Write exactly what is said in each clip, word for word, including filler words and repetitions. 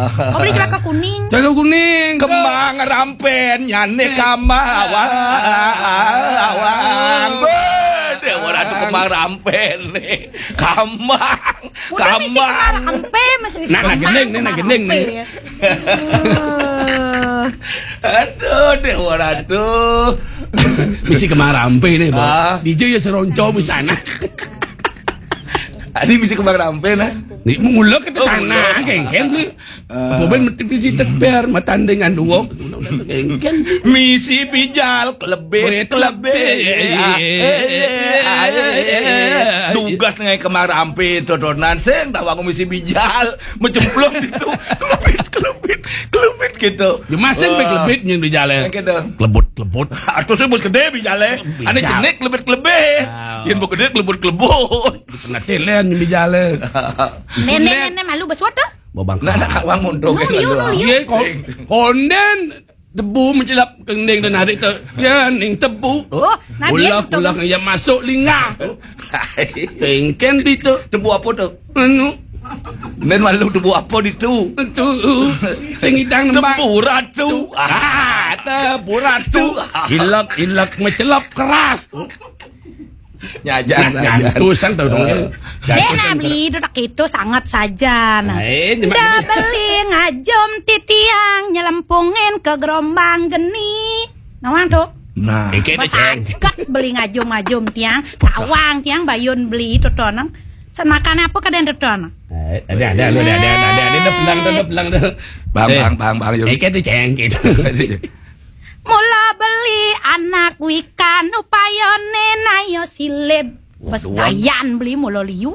Kau beli celaka kuning. Celaka kuning. Kemang rampen nyane kamawang. Bede ora tu kemang rampen nih. Kamang. Udah misi kemang rampe, misi. Nah, nah, gending nih, nah, gending nih. Aduh, Dewa Ratu. Misi kemang rampe nih, Bang. Ah. D J ya seronco di sana. Adi misi kemang rampe nah. Nih, mulak ke sana, kengken nih. Apa ben mesti misi teper, matandingan dua. Kengken. Misi bijal, kelebit, kelebit. Dugas ngai kemang rampe, todonan sing, tawa aku misi bijal. Macemplung gitu. Kelebit, kelebit, kelebit gitu. Ya, masing be kelebit yang di jalan. Yang gitu. Kelebut, kelebut. Atau sih bos gede di jalan. Ane jenik kelebit, kelebit. Yang bos gede kelebut, kelebut. Kena telen yang di jalan. Nenek, nenek malu basuat dah. Babang. Nah, nah, kawang mondong. Iya, kon-, konden. Tebu mencelap kending dan hari tu. Ya, ning tebu. Oh, nah, dia ulak, ulak yang masuk linga. Kengken di tu. Tebu apa tu? Anu. Nen malu tebu apa di tu? Tu. Sing idang nembang. Tebu ratu. Ah, tebu ratu. Ilak, ilak mencelap keras. Nyajan, nyajan. Nyantusan tau dong. Dena beli duduk itu sangat saja. Nah. Nda beli ngajum titiang nyelempungin ke gerombang geni. Nawang tu. Nah. Basakat beli ngajum-ngajum tiang, tawang tiang bayun beli itu tonang. Sen makan apa kadang itu tonang. Ada, ada, ada, ada, ada, ada, ada, ada, pelang tu, ada pelang tu. Bang, bang, bang, bang, Yul. Eke tu ceng gitu. Mula beli anak wikan upayane nayo silib. Bes dayan beli mula liu.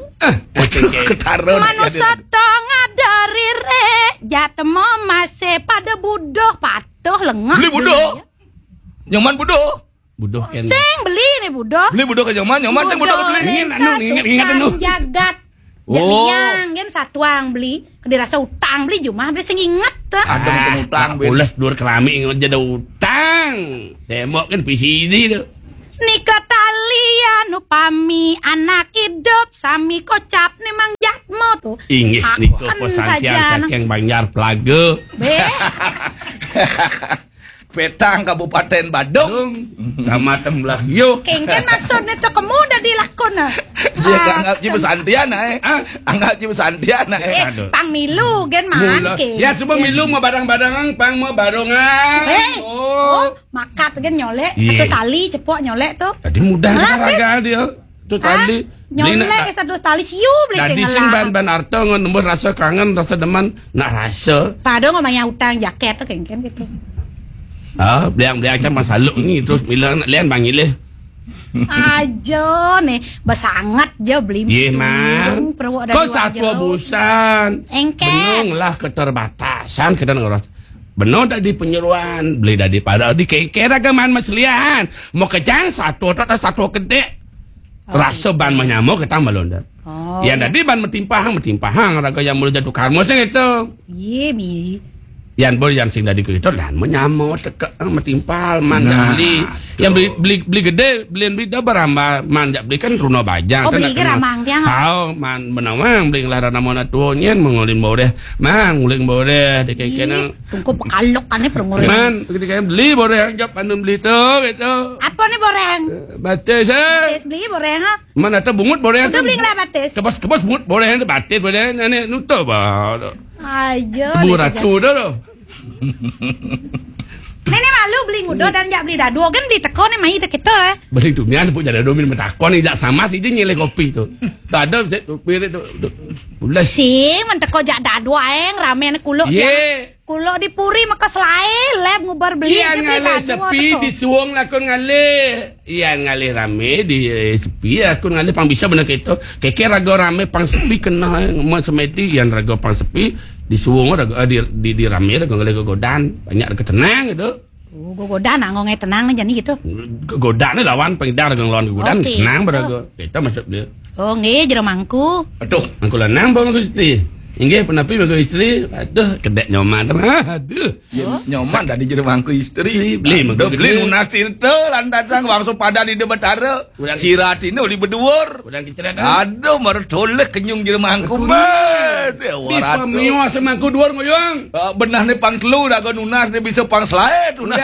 Ketara. Manusa tong ada rire jatemo masih pada buduh patuh lengah. Beli buduh. Nyaman buduh. Buduh kan. Sing beli ni buduh. Beli buduh ke nyaman, nyaman sing buduh beli. Ini anu ingat, ingat anu. Jagat. Jek liang kan satuang beli, dirasa utang beli jumah beli sing inget tuh. Ada utang beli. Ules dur kerami ingat jadi utang. Tembok kan P C D tu. Nika talian upami anak hidup sami kocap ni Mang Jatmo tu. Inggih nika pesantian saking Banjar Pelaga. Be. Petang Kabupaten Badung. Kecamatan Belah Yo. Kengken maksudnya tu kemu dah dilakon ah. Dia anggap je pesantian eh. Anggap je pesantian eh. Eh, pang milu gen man ke. Ya semua milu mau barang-barangan, pang mau barongan. Eh, oh, makat gen nyolek satu tali cepok nyolek tu. Tadi mudah raga dia. Tu tali. Nyolek satu tali siu beli sing ngelah. Ban ban arto ngon nembus rasa kangen, rasa deman, nak rasa. Padahal nggak bayar utang jaket tu kengken gitu. Ah, beliang beliang macam masaluk ni terus bila nak lian bang ilih. Aja nih, besangat je beli. Ye mah. Kau satwa busan. Engket. Benung lah keterbatasan kita ngeros. Benung dah di penyeruan, beli dah di pada di kengken agaman maselian. Mau kejang satu atau satu kedek. Rasa ban menyamuk kita melonda. Oh, yang tadi ban metimpahang, metimpahang raga yang mula jatuh karma sing itu. Iya, mi. Yang bol yang sing tadi kereta dan menyamuk teka metimpal man nah, beli. Yang beli beli beli gede, beli beli dah berambah man jak beli kan runa bajang. Oh, kan beli ke ramang tiang. Tahu man benawang beli ngelara nama nak tuanya mengulin bau deh. Man nguling bau deh di kengken. Tungku pekalok kan ni perumur. Man ketika beli bau deh jawab anu beli tu gitu. Apa ni boreng? Batis eh. Batis beli boreng ha. Mana tu bungut boreng tu? Beli lah batis. Kebas kebas bungut boreng tu batis boreng ni nutup bah. Aja. Tebu ratu dah tu. Nenek malu beli ngudo dan jak beli dadu. Kan beli teko ni mai teko kita eh. Beli tu ni ada pun jadi domin metakon ni jak sama si je nyilih kopi tu. Tak ada set tu pirit tu. Ulas. Si menteko jak dadu aeng ramen kuluk. Ye. Kulo di puri maka selai leb ngubar beli. Ian ngalih sepi di suwung lakon ngalih. Ian ngalih rame di eh, sepi lakon ngalih pang bisa bener keto. Keke raga rame pang sepi kena eh, semedi ian raga pang sepi di suwung raga eh, di, di, di rame raga ngalih gogodan banyak raga tenang gitu. Oh, gogodan nak ngongai tenang ni jadi gitu. Gogodan ni lawan pengidar raga ngelawan gogodan tenang beraga. Kita masuk dia. Oh nggih jero mangku. Aduh, mangku lanang bang mangku siti. Inggih punapi mangku istri? Aduh, kedék nyoman. Aduh. Yén nyoman dadi jero mangku istri. Beli mangku Aduh, beli nunas tinta lantasan wangsa padan Ida Betara. Siratina uli beduur. Aduh, mara toleh kenyung jero mangku. Di pamios mangku duur ngoyong. Ah, benehné pang telu, raga nunas né bisa pang selaé, nunas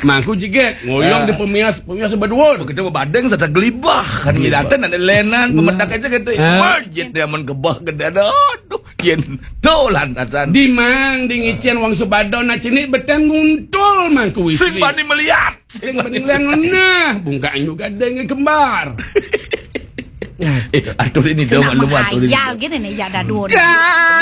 Mangku jegég, ngoyong di pemias, pemias beduur. Begitu badeng serta gelibah kan ngidaten ada lenan pemedak aja gitu. Masjid dia mun gebah gede aduh. Yen to lantasan. Di mang di ngicén wong sebadon nah cenik beten nguntul mangku istri. Sing bani melihat. Sing bani melihat nah bungkak juga denge kembar. Eh, atur ini dong lu atur ini. Hayal gini nih ya dadun.